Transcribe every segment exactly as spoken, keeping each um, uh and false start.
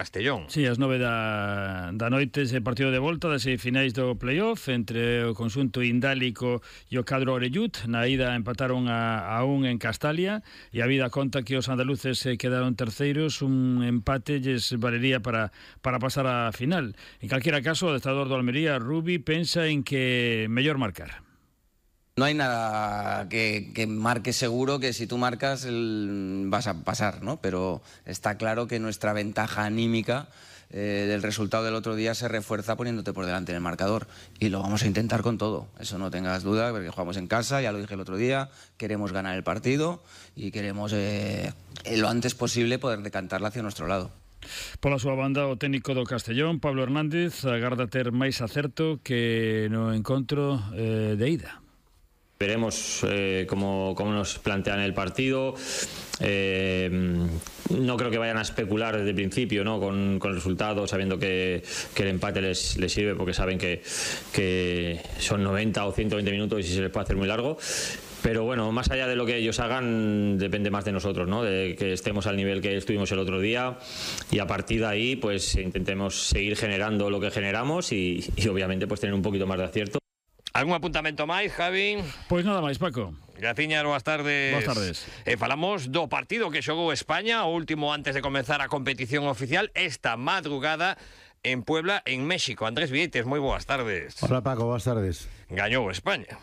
Castellón. Sí, ás nove da, da noite ese partido de volta das semifinais do playoff entre o conxunto indálico e o cadro orellut. Na ida empataron a, a un en Castalia e a vida conta que os andaluces se quedaron terceiros. Un empate lles valería para, para pasar a final. En calquera caso, o adestrador do Almería, Rubi, pensa en que mellor marcar. No hay nada que, que marque seguro que si tú marcas el, vas a pasar, ¿no? Pero está claro que nuestra ventaja anímica eh, del resultado del otro día se refuerza poniéndote por delante en el marcador. Y lo vamos a intentar con todo, eso no tengas duda, porque jugamos en casa, ya lo dije el otro día, queremos ganar el partido y queremos eh, lo antes posible poder decantarla hacia nuestro lado. Pola súa banda, o técnico do Castellón, Pablo Hernández, agarda ter máis acerto que no encontro eh, de ida. Veremos eh, cómo, cómo nos plantean el partido. Eh, no creo que vayan a especular desde el principio, ¿no? con, con el resultado, sabiendo que, que el empate les, les sirve, porque saben que, que son noventa o ciento veinte minutos y se les puede hacer muy largo. Pero bueno, más allá de lo que ellos hagan, depende más de nosotros, ¿no? De que estemos al nivel que estuvimos el otro día, y a partir de ahí pues intentemos seguir generando lo que generamos y, y obviamente pues tener un poquito más de acierto. Algún apuntamento máis, Javi? Pois nada máis, Paco. Graciñas, boas tardes. Boas tardes. E falamos do partido que xogou España, o último antes de comenzar a competición oficial, esta madrugada en Puebla, en México. Andrés Vieites, moi boas tardes. Hola, Paco, boas tardes. Gañou España.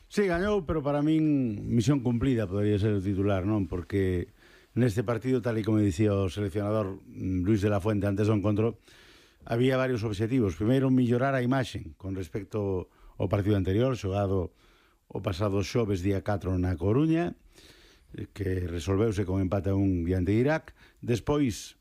Sí, gañou, pero para min misión cumplida podería ser o titular, non? Porque neste partido, tal e como dicía o seleccionador Luis de la Fuente antes do encontro, había varios obxectivos. Primeiro, mellorar a imaxe con respecto o partido anterior, xogado o pasado xoves día catro na Coruña, que resolveuse con empate a un diante de Irak. Despois,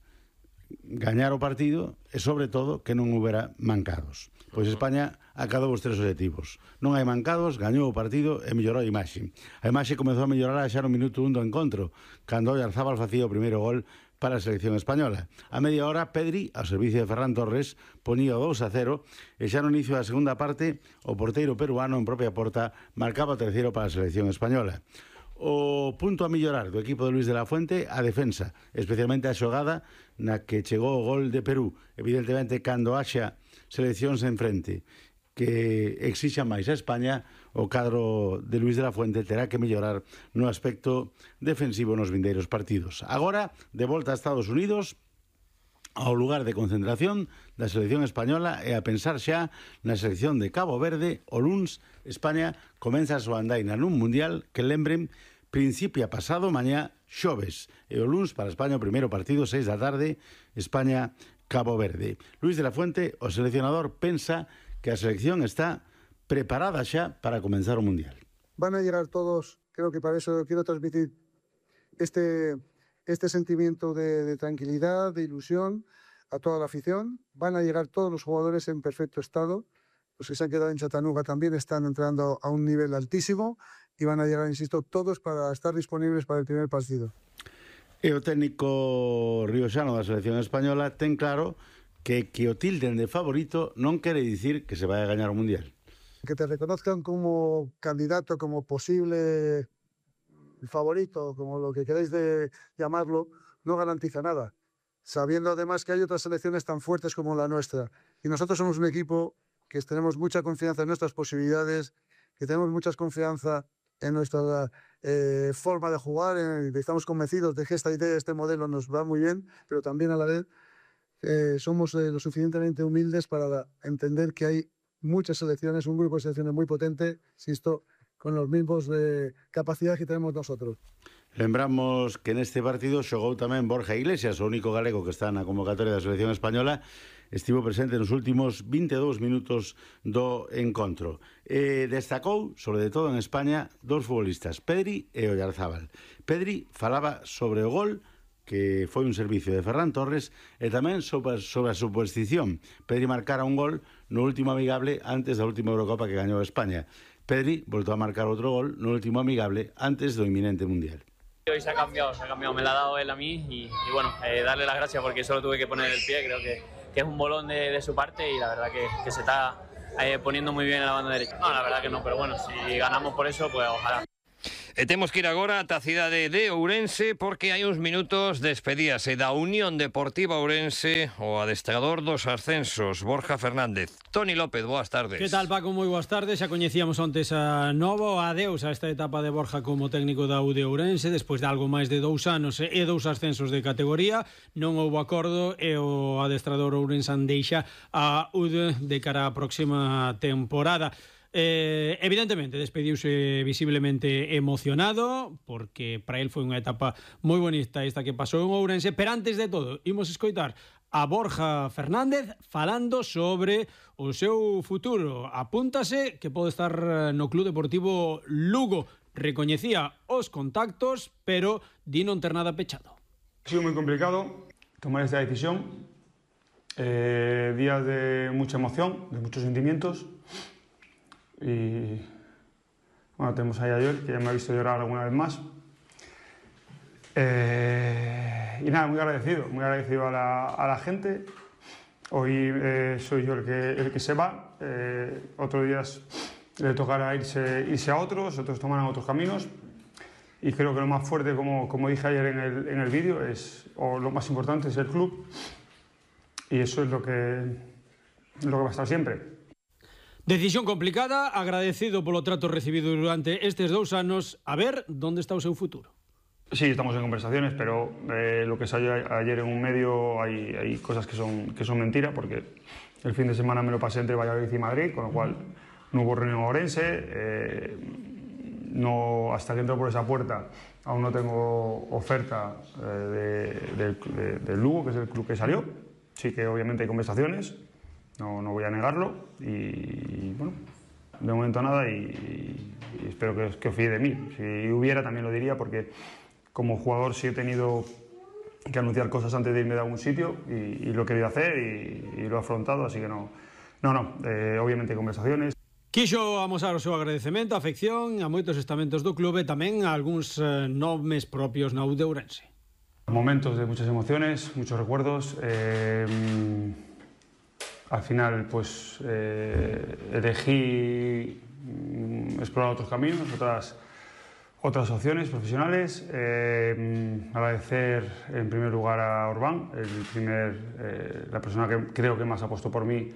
gañar o partido e, sobre todo, que non houbera mancados. Pois España acadou os tres objetivos. Non hai mancados, gañou o partido e mellorou a imaxe. A imaxe comezou a mellorar xa no minuto un do encontro, cando Oyarzábal facía o primeiro gol para a selección española. A media hora, Pedri, ao servicio de Ferran Torres, ponía o dous a cero e xa no inicio da segunda parte, o porteiro peruano en propia porta marcaba o terceiro para a selección española. O punto a mellorar do equipo de Luis de la Fuente, a defensa, especialmente a xogada na que chegou o gol de Perú. Evidentemente, cando haxa seleccións en frente que exixa máis a España, o cadro de Luis de la Fuente terá que mellorar no aspecto defensivo nos vindeiros partidos. Agora, de volta a Estados Unidos, ao lugar de concentración da selección española, e a pensar xa na selección de Cabo Verde. O luns, España comeza a súa andaina nun mundial que, lembren, principia pasado mañá xoves, e o luns para España o primeiro partido, seis da tarde, España-Cabo Verde. Luis de la Fuente, o seleccionador, pensa que a selección está preparada xa para comenzar o mundial. Van a llegar todos, creo que para eso quiero transmitir este, este sentimiento de, de tranquilidad, de ilusión a toda la afición. Van a llegar todos los jugadores en perfecto estado. Los que se han quedado en Chattanooga también están entrando a un nivel altísimo y van a llegar, insisto, todos para estar disponibles para el primer partido. E o técnico rioxano da selección española ten claro que que o tilden de favorito non quere dicir que se vai a gañar o mundial. Que te reconozcan como candidato, como posible favorito, como lo que queréis de llamarlo, no garantiza nada. Sabiendo además que hay otras selecciones tan fuertes como la nuestra. Y nosotros somos un equipo que tenemos mucha confianza en nuestras posibilidades, que tenemos mucha confianza en nuestra eh, forma de jugar, en, estamos convencidos de que esta idea, este modelo nos va muy bien, pero también a la vez eh, somos eh, lo suficientemente humildes para entender que hay muchas selecciones, un grupo de selecciones muy potente, insisto, con los mismos eh, capacidades que tenemos nosotros. Lembramos que neste partido xogou tamén Borja Iglesias, o único galego que está na convocatoria da selección española. Estivo presente nos últimos vinte e dous minutos do encontro. E destacou, sobre todo en España, dous futbolistas, Pedri e Oyarzábal. Pedri falaba sobre o gol, que foi un servicio de Ferran Torres, e tamén sobre, sobre a superstición. Pedri marcara un gol no último amigable antes da última Eurocopa que gañou España. Pedri voltou a marcar outro gol no último amigable antes do inminente Mundial. Hoy se ha cambiado, se ha cambiado, me la ha dado él a mí y, y bueno, eh, darle las gracias porque solo tuve que poner el pie, creo que, que es un bolón de, de su parte y la verdad que, que se está eh, poniendo muy bien en la banda derecha. No, la verdad que no, pero bueno, si ganamos por eso, pues ojalá. E temos que ir agora ata a cidade de Ourense porque hai uns minutos despedíase da Unión Deportiva Ourense o adestrador dos ascensos, Borja Fernández. Toni López, boas tardes. Que tal, Paco? Moi boas tardes. Xa coñecíamos ontes a novo adeus a esta etapa de Borja como técnico da U D Ourense despois de algo máis de dous anos e dous ascensos de categoría. Non houbo acordo e o adestrador ourensán deixa a U D de cara á próxima temporada. Eh, evidentemente despediuse visiblemente emocionado porque para él foi unha etapa moi bonita esta que pasou en Ourense, pero antes de todo imos escoitar a Borja Fernández falando sobre o seu futuro. Apúntase que pode estar no Club Deportivo Lugo. Recoñecía os contactos, pero di non ter nada pechado. Ha sido moi complicado tomar esta decisión, eh, días de mucha emoción, de muchos sentimientos. Y bueno, tenemos ahí a Joel, que ya me ha visto llorar alguna vez más. Eh, y nada, muy agradecido, muy agradecido a la, a la gente. Hoy eh, soy yo el que, el que se va, eh, otros días le tocará irse, irse a otros, otros tomarán otros caminos. Y creo que lo más fuerte, como, como dije ayer en el, en el vídeo, es, o lo más importante es el club. Y eso es lo que, lo que va a estar siempre. Decisión complicada, agradecido polo trato recibido durante estes dous anos. A ver, onde está o seu futuro? Sí, estamos en conversaciones, pero eh, lo que salió ayer en un medio hay, hay cosas que son, que son mentira, porque el fin de semana me lo pasé entre Valladolid y Madrid, con lo cual no hubo reunión en Ourense. Eh, no, hasta que entro por esa puerta aún no tengo oferta eh, de, de, de, del Lugo, que es el club que salió. Sí que obviamente hay conversaciones. No, no voy a negarlo y, bueno, de momento nada y, y espero que, que os fíe de mí. Si hubiera también lo diría porque como jugador sí he tenido que anunciar cosas antes de irme de algún sitio y, y lo he querido hacer y, y lo he afrontado, así que no, no, no, eh, obviamente hay conversaciones. Quixo amosar o seu agradecemento, a afección a moitos estamentos do clube e tamén a algúns eh, nomes propios na U D Ourense. Momentos de muchas emociones, muchos recuerdos. Eh, Al final, pues, eh, elegí mm, explorar otros caminos, otras, otras opciones profesionales. Eh, agradecer, en primer lugar, a Orbán, el primer, eh, la persona que creo que más apostó por mí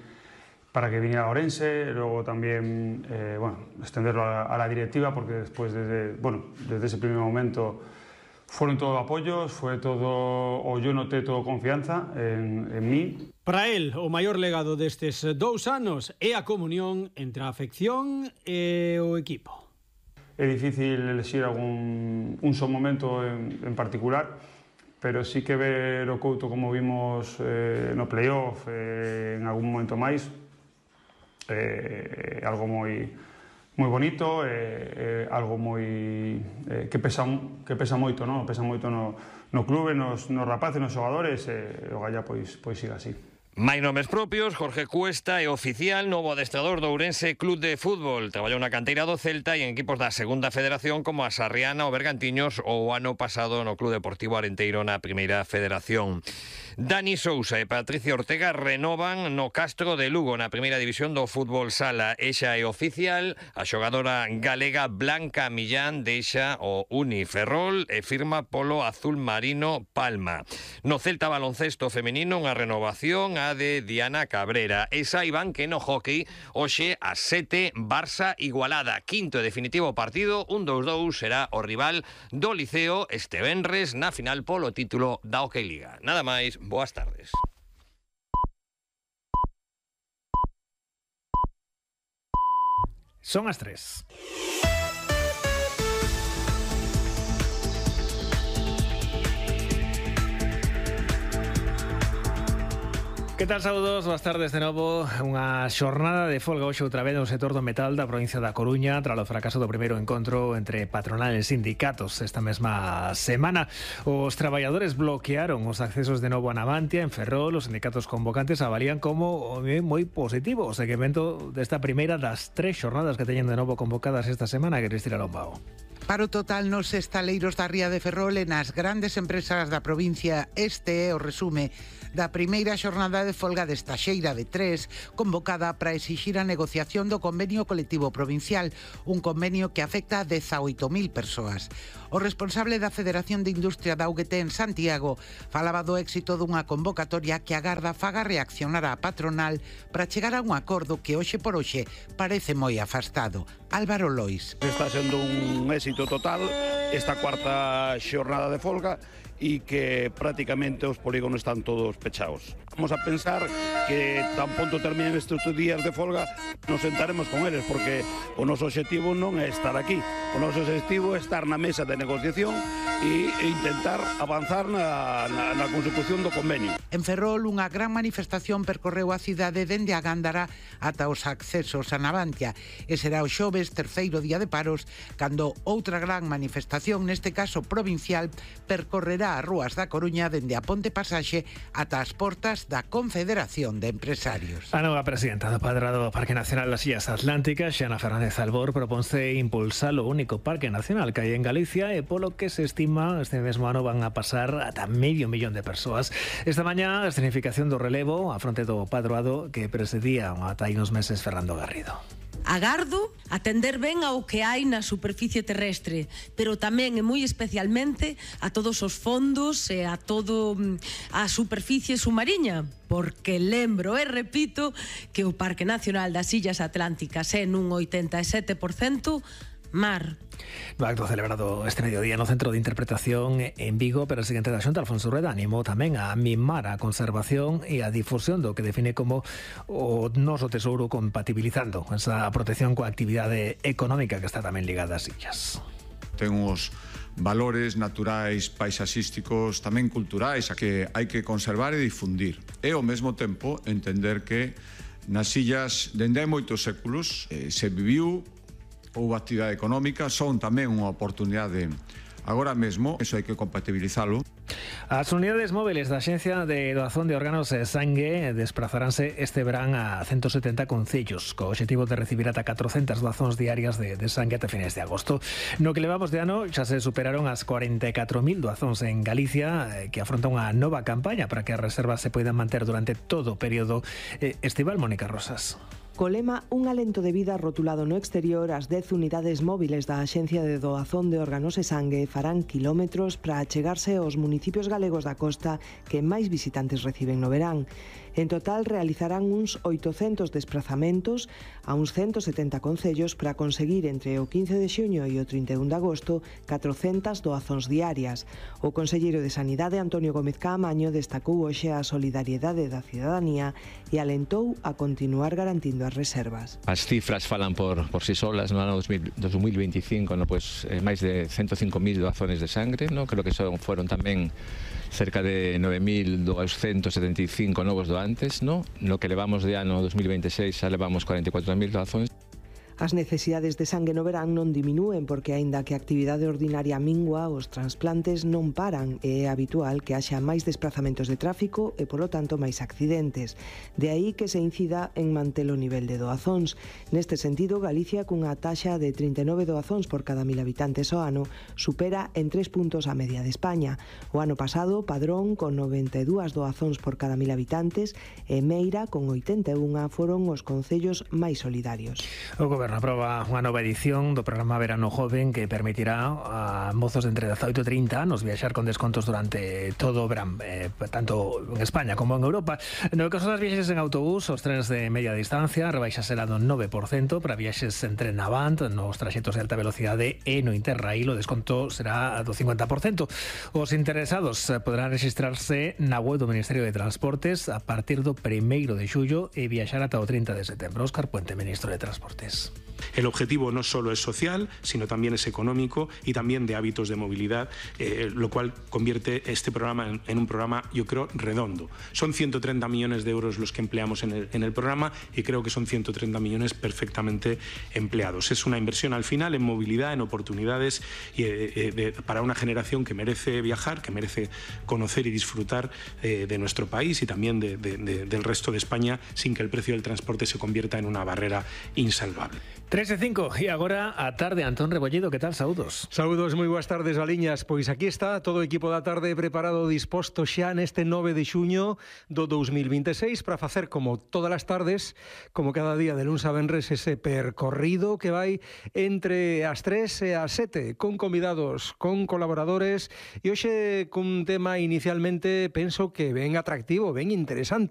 para que viniera a Ourense. Luego también, eh, bueno, extenderlo a, a la directiva, porque después, desde, bueno, desde ese primer momento, fueron todo apoyos, fue todo, o yo noté todo confianza en, en mí. Para él, o maior legado destes dous anos é a comunión entre a afección e o equipo. É difícil elegir algún un só momento en, en particular, pero sí que ver o Couto como vimos eh, no playoff, eh, en algún momento máis, eh, algo moi moi bonito, eh, eh, algo moi eh, que pesa que pesa moito, no, pesa moito no no clube, nos nos rapaces, nos xogadores, e eh, o Galla pois pois siga así. Máis nomes propios, Jorge Cuesta é oficial, novo adestrador do Ourense Club de Fútbol. Traballou na canteira do Celta e en equipos da Segunda Federación como a Sarriana ou Bergantiños ou o ano pasado no Club Deportivo Arenteiro na Primeira Federación. Dani Sousa e Patricia Ortega renovan no Castro de Lugo na Primeira División do Fútbol Sala. Exa é oficial, a xogadora galega Blanca Millán deixa o Uni Ferrol e firma polo Azul Marino Palma. No Celta baloncesto femenino unha renovación a de Diana Cabrera. E saiban que no hockey hoxe a sete Barça Igualada, quinto e definitivo partido, un dous dous será o rival do Liceo este venres na final polo título da Hockey Liga. Nada máis, boas tardes. Son as tres. Que tal, saúdos, boas tardes de novo. Unha xornada de folga hoxe outra vez no sector do metal da provincia da Coruña tras o fracaso do primeiro encontro entre patronal e sindicatos esta mesma semana. Os traballadores bloquearon os accesos de novo a Navantia, en Ferrol. Os sindicatos convocantes avalían como moi positivo o seguimento desta primeira das tres xornadas que teñen de novo convocadas esta semana, que Cristina Lombao. Paro total nos estaleiros da ría de Ferrol e nas grandes empresas da provincia. Este é o resume da primeira xornada de folga desta xeira de tres, convocada para exixir a negociación do convenio colectivo provincial, un convenio que afecta a dezaoito mil persoas. O responsable da Federación de Industria da U G T en Santiago falaba do éxito dunha convocatoria que agarda faga reaccionar a patronal para chegar a un acordo que hoxe por hoxe parece moi afastado. Álvaro Lois. Está sendo un éxito total esta cuarta xornada de folga e que prácticamente os polígonos están todos pechados. Vamos a pensar que tan pronto terminen estes días de folga nos sentaremos con eles, porque o noso objetivo non é estar aquí, o noso objetivo é estar na mesa de negociación e intentar avanzar na, na, na consecución do convenio. En Ferrol, unha gran manifestación percorreu a cidade dende a Gándara ata os accesos a Navantia, e será o xoves, terceiro día de paros, cando outra gran manifestación, neste caso provincial, percorrerá as rúas da Coruña dende a Ponte Pasaxe ata as portas da Confederación de Empresarios. A nova presidenta do Padrado do Parque Nacional das Illas Atlánticas, Xana Fernández Albor, proponse impulsar o único parque nacional que hai en Galicia e polo que se estima este mesmo ano van a pasar ata medio millón de persoas. Esta mañá, a escenificación do relevo a fronte do Padroado que presidía ata hai uns meses Fernando Garrido. Agardo atender ben ao que hai na superficie terrestre, pero tamén e moi especialmente a todos os fondos e a todo a superficie submarina, porque lembro e repito que o Parque Nacional das Illas Atlánticas é nun oitenta e sete por cento mar. No acto celebrado este mediodía no Centro de Interpretación en Vigo, pero o presidente da Xunta, Alfonso Rueda, animou tamén a mimar a conservación e a difusión do que define como o noso tesouro, compatibilizando esa protección coa actividade económica que está tamén ligada ás illas. Ten uns valores naturais, paisaxísticos, tamén culturais, a que hai que conservar e difundir. E ao mesmo tempo entender que nas illas, dende hai moitos séculos, eh, se viviu ou actividade económica, son tamén unha oportunidade. Agora mesmo, eso hai que compatibilizalo. As unidades móviles da Axencia de Doazón de Órganos e Sangue desplazaránse este verán a ciento setenta concellos, co obxectivo de recibir ata catrocentas doazóns diarias de, de sangue ata fines de agosto. No que levamos de ano xa se superaron as cuarenta e catro mil doazóns en Galicia, que afronta unha nova campaña para que as reservas se poidan manter durante todo o período estival. Mónica Rosas. Co lema Un alento de vida rotulado no exterior, as dez unidades móviles da Axencia de Doazón de Órganos e Sangue farán kilómetros para achegarse aos municipios galegos da costa que máis visitantes reciben no verán. En total realizarán uns oitocentos desplazamentos a uns ciento setenta concellos para conseguir entre o quince de xuño e o trinta e un de agosto catrocentas doazóns diarias. O conselleiro de Sanidade, Antonio Gómez Caamaño, destacou hoxe a solidariedade da cidadanía e alentou a continuar garantindo as reservas. As cifras falan por, por si solas. No ano dos mil veinticinco, no, pues, eh, máis de ciento cinco mil doazones de sangre, no? Creo que son, fueron tamén cerca de nove mil doscientos setenta e cinco novos doantes, no? No que levamos de ano dos mil veintiséis xa levamos cuarenta e catro mil doazóns. As necesidades de sangue no verán non diminúen porque, aínda que a actividade ordinaria mingua, os transplantes non paran e é habitual que haxa máis desplazamentos de tráfico e, polo tanto, máis accidentes. De aí que se incida en manter o nivel de doazóns. Neste sentido, Galicia, cunha taxa de trinta e nove doazóns por cada mil habitantes ao ano, supera en tres puntos a media de España. O ano pasado, Padrón, con noventa e dúas doazóns por cada mil habitantes, e Meira, con oitenta e unha, foron os concellos máis solidarios. O Goberno aproba unha nova edición do programa Verano Joven que permitirá a mozos de entre dezaoito e trinta anos viaxar con descontos durante todo o verán, eh, tanto en España como en Europa. No caso das viaxes en autobús, os trenes de media distancia rebaixasela do nove por cento, para viaxes en tren Avant, nos traxectos de alta velocidade e no Interrail o desconto será do cincuenta por cento. Os interesados poderán registrarse na web do Ministerio de Transportes a partir do primeiro de xullo e viaxar ata o trinta de setembro. Óscar Puente, Ministro de Transportes. El objetivo no solo es social, sino también es económico y también de hábitos de movilidad, eh, lo cual convierte este programa en, en un programa, yo creo, redondo. Son ciento treinta millones de euros los que empleamos en el, en el programa y creo que son ciento treinta millones perfectamente empleados. Es una inversión al final en movilidad, en oportunidades y, eh, de, para una generación que merece viajar, que merece conocer y disfrutar eh, de nuestro país y también de, de, de, del resto de España sin que el precio del transporte se convierta en una barrera insalvable. tres e cinco e agora a tarde. Antón Rebollido, que tal? Saúdos. Saúdos, moi boas tardes, Aliñas. Pois aquí está todo o equipo da tarde preparado, disposto xa neste nove de xuño do dous mil vinte e seis para facer como todas as tardes, como cada día de luns a venres, ese percorrido que vai entre as tres e as sete, con convidados, con colaboradores, e hoxe cun tema inicialmente penso que ben atractivo, ben interesante.